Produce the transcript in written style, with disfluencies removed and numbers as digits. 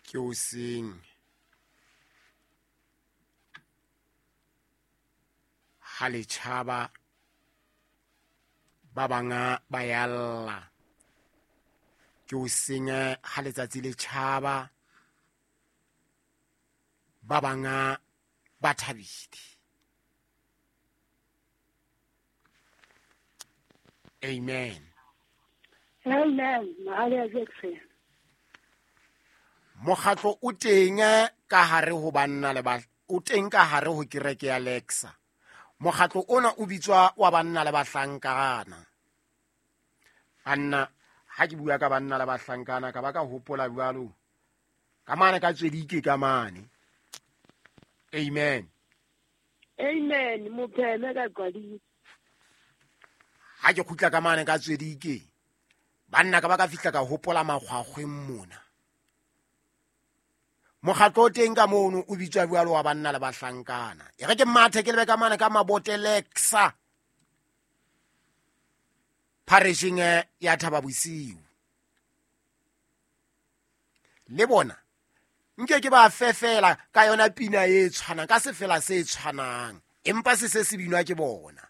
Ke hoseng ha le tjhaba, ba banga ba yalla. Ke hoseng ha letsatsi le tjhaba, ba banga ba thabile. Amen. Amen. Mahali ya Jackson. Mokgatlo o teng ka hare ho banna le ba o teng ka hare ho kereke ya Lexa. Mokgatlo ona o bitswa wa banna le bahlankana. Banna, ha ke bua ka banna le bahlankana ka ba ka hopola jwalo ka mane ka tswedike ka mane. Amen. Amen. Mopheme ka qadile. Ha ke kgutla ka mane ka tswedike, banna ka ba ka fihla ka hopola makgwakgweng mona. Mokgatlo o teng ka mono o bitswa jwalo wa banna le bahlankana. E re ke mathe ke lebe ka mane ka Mabotelexa pharesheng ya Thaba Bosiu. Le bona nke ke ba fefela ka yona pina e tshwanang, ka sefela se tshwanang, empa se se se binwa ke bona.